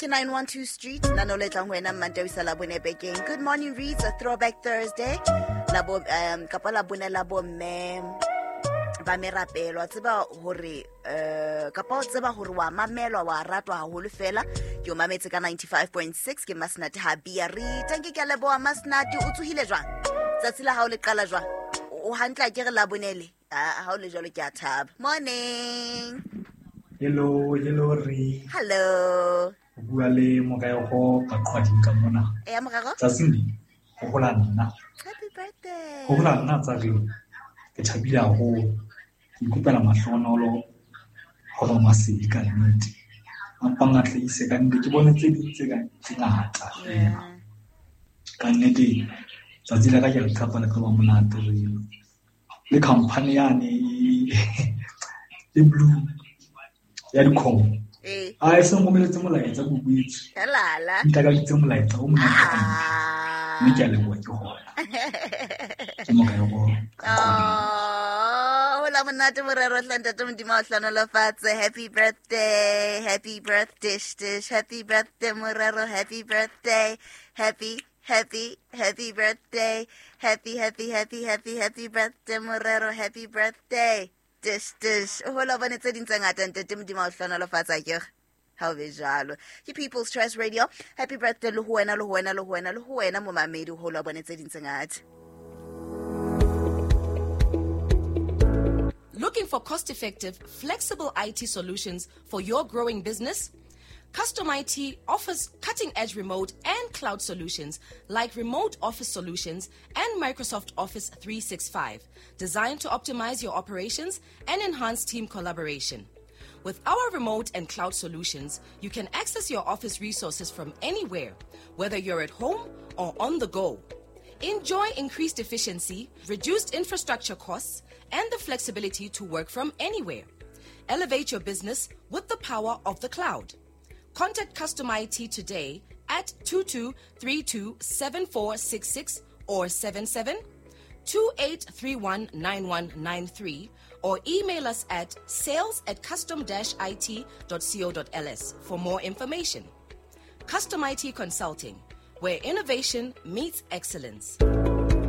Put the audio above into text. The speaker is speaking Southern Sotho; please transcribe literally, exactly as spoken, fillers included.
Ke nine one two Street, nano le tlang ho wena Mmantaha isa Labone bekeng. Good morning reads a throwback Thursday. Labo um kapa Labone la bomme ba merapelo. Wa tseba hore eh kapa o tseba hore wa mamelwa wa ratwa haholo fela. Ke o mametse ka ninety-five point six ke Masnati ha bia re. Thank you ke a leboha Masnati, o tsohile jwang? Tsatsi la hao le qala jwang? O hantle ke re Labonele. Ah, ha o le jwalo ke a thaba. Morning. Hello, hello re. Hello. O bua le Morero ka Qhwading ka mona. Eh, Morero? Tsatsing le, ho hola nna. Happy birthday. Ho hola nna tsa re. Ke thabile haholo. Ke ikopela mahlohonolo hore masedi ka nnete. A mpang a tlise ka nnete, ke bone tse ding tse ka tse ngata fela. Yeah. Ka nnete, tsatsi la ka ke le tshepa le tlo ba monate re. Le company yane e blue ya dikgomo. Eh. A e seng romeletse molaetsa ko boetse. Helala. Ntakaditse molaetsa o monate. Ah. Mme ke a leboha ke hona. Ke Morero. Oh, hola monate Morero hle ntate Modimo a o hlohonolofatse. Happy birthday, happy birthday, dish, happy birthday Morero, happy birthday, happy, happy, happy birthday, happy, happy, happy, happy, happy birthday Morero, happy birthday. Dish, dish. Hola bone tse ding tse ngata ntate Modimo a o hlohonolofatsa ke re. Ha o be jwalo. Ke People's Choice Radio. Happy birthday le ho wena, le ho wena, le ho wena, le ho wena momamedi, hola bone tse ding tse ngata. Looking for cost-effective, flexible I T solutions for your growing business? Custom I T offers cutting-edge remote and cloud solutions like remote office solutions and Microsoft Office three sixty-five, designed to optimize your operations and enhance team collaboration. With our remote and cloud solutions, you can access your office resources from anywhere, whether you're at home or on the go. Enjoy increased efficiency, reduced infrastructure costs, and the flexibility to work from anywhere. Elevate your business with the power of the cloud. Contact Custom I T today at two two three two seven four six six or seven seven two eight three one nine one nine three or email us at sales at custom dash I T dot co dot L S for more information. Custom I T Consulting, where innovation meets excellence.